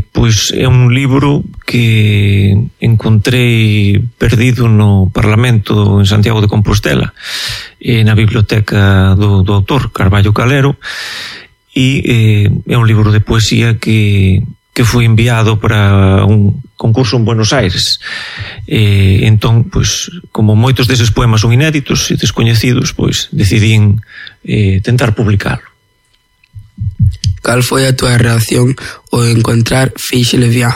Pois é un libro que encontrei perdido no Parlamento en Santiago de Compostela, na biblioteca do autor Carballo Calero, e é un libro de poesía que foi enviado para un concurso en Buenos Aires. Entón, pois, como moitos deses poemas son inéditos e descoñecidos, pois decidín tentar publicalo. Cal foi a túa reacción ao encontrar Fiche Levián?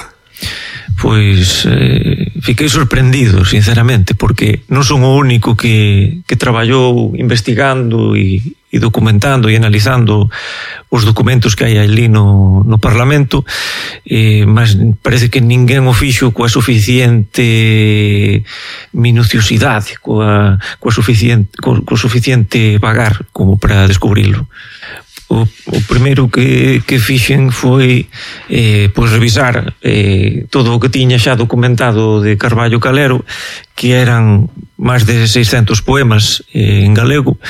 Pois fiquei sorprendido, sinceramente, porque non son o único que traballou investigando e documentando e analizando os documentos que hai ali no Parlamento, mas parece que ninguén o fixo coa suficiente minuciosidade, coa suficiente vagar como para descubrilo. O primeiro que fixen foi pois revisar todo o que tiña xa documentado de Carballo Calero, que eran máis de 600 poemas en galego,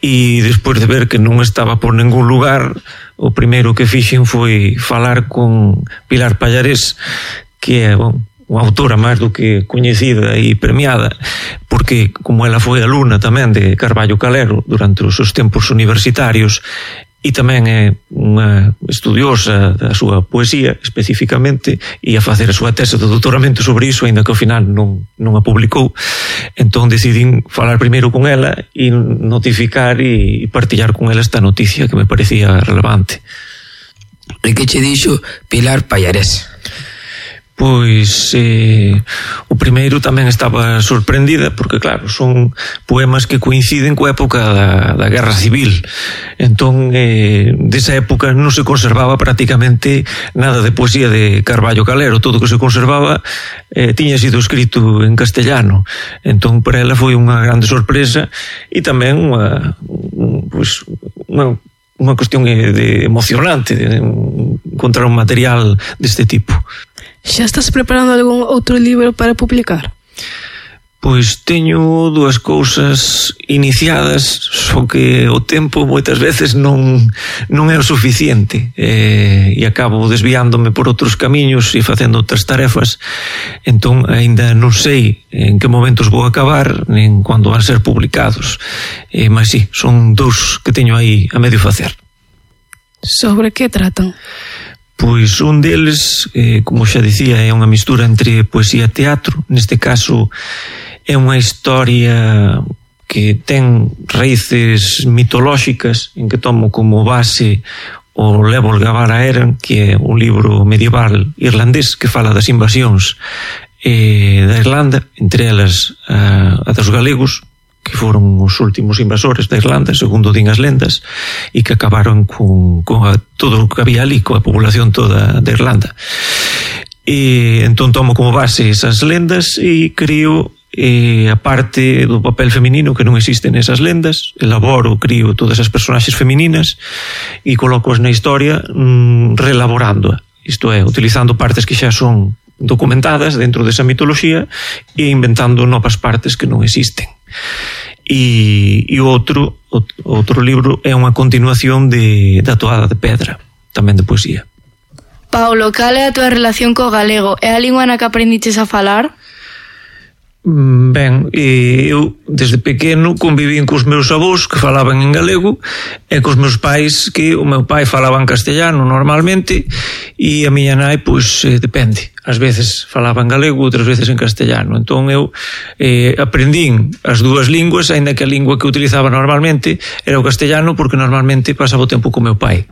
e despois de ver que non estaba por ningún lugar, o primeiro que fixen foi falar con Pilar Pallarés, que é unha autora máis do que coñecida e premiada, porque como ela foi alumna tamén de Carballo Calero durante os seus tempos universitarios, e tamén é unha estudiosa da súa poesía especificamente, e a facer a súa tese de doutoramento sobre iso, aínda que ao final non a publicou. Entón decidín falar primeiro con ela e notificar e partillar con ela esta noticia que me parecía relevante. E que che dixo Pilar Pallarés? Pois o primeiro tamén estaba sorprendida, porque claro, son poemas que coinciden coa época da Guerra Civil. Entón, desa época non se conservaba prácticamente nada de poesía de Carballo Calero. Todo o que se conservaba tiña sido escrito en castellano. Entón, para ela foi unha grande sorpresa e tamén unha cuestión emocionante de encontrar un material deste tipo. Xa estás preparando algún outro libro para publicar? Pois teño dúas cousas iniciadas, só que o tempo moitas veces non é o suficiente, e acabo desviándome por outros camiños e facendo outras tarefas. Entón aínda non sei en que momentos vou acabar nen cando van ser publicados, mas sí, son dous que teño aí a medio facer. Sobre que tratan? Pois un deles, como xa dicía, é unha mistura entre poesía e teatro. Neste caso é unha historia que ten raíces mitolóxicas, en que tomo como base o Lebor Gabara Eran, que é un libro medieval irlandés que fala das invasións da Irlanda, entre elas a dos galegos, que foron os últimos invasores da Irlanda, segundo din as lendas, e que acabaron con todo o que había ali, coa población toda da Irlanda. E entón tomo como base esas lendas e creo a parte do papel feminino que non existe nesas lendas, crio todas as personaxes femininas e colócoas na historia reelaborándoa, isto é, utilizando partes que xa son documentadas dentro desa mitoloxía e inventando novas partes que non existen. E o outro libro é unha continuación da Toada de Pedra, tamén de poesía. Paulo, cal é a túa relación co galego? É a lingua na que aprendiches a falar? Ben, eu desde pequeno convivín cos meus avós que falaban en galego e cos meus pais, que o meu pai falaba en castellano normalmente e a miña nai, pois, depende, ás veces falaba en galego, outras veces en castellano. Entón eu aprendín as dúas linguas, aínda que a lingua que utilizaba normalmente era o castellano, porque normalmente pasaba o tempo co meu pai.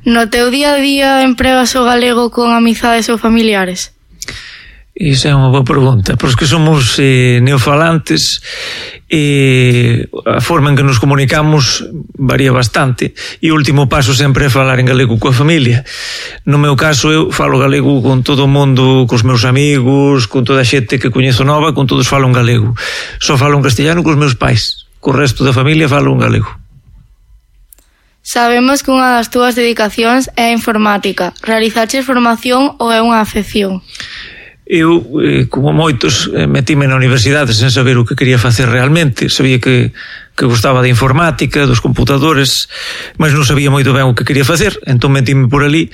No teu día a día empregas o galego con amizades ou familiares? Esa é unha boa pregunta, pois que somos neofalantes e a forma en que nos comunicamos varía bastante, e o último paso sempre é falar en galego coa familia. No meu caso, eu falo galego con todo o mundo, cos meus amigos, con toda a xente que coñezo nova, con todos falo en galego. Só falo en castellano cos meus pais, co resto da familia falo en galego. Sabemos que unha das túas dedicacións é a informática. Realizaches formación ou é unha afección? Eu, como moitos, metime na universidade sen saber o que quería facer realmente. Sabía que gustaba de informática, dos computadores, mas non sabía moito ben o que quería facer, entón metime por ali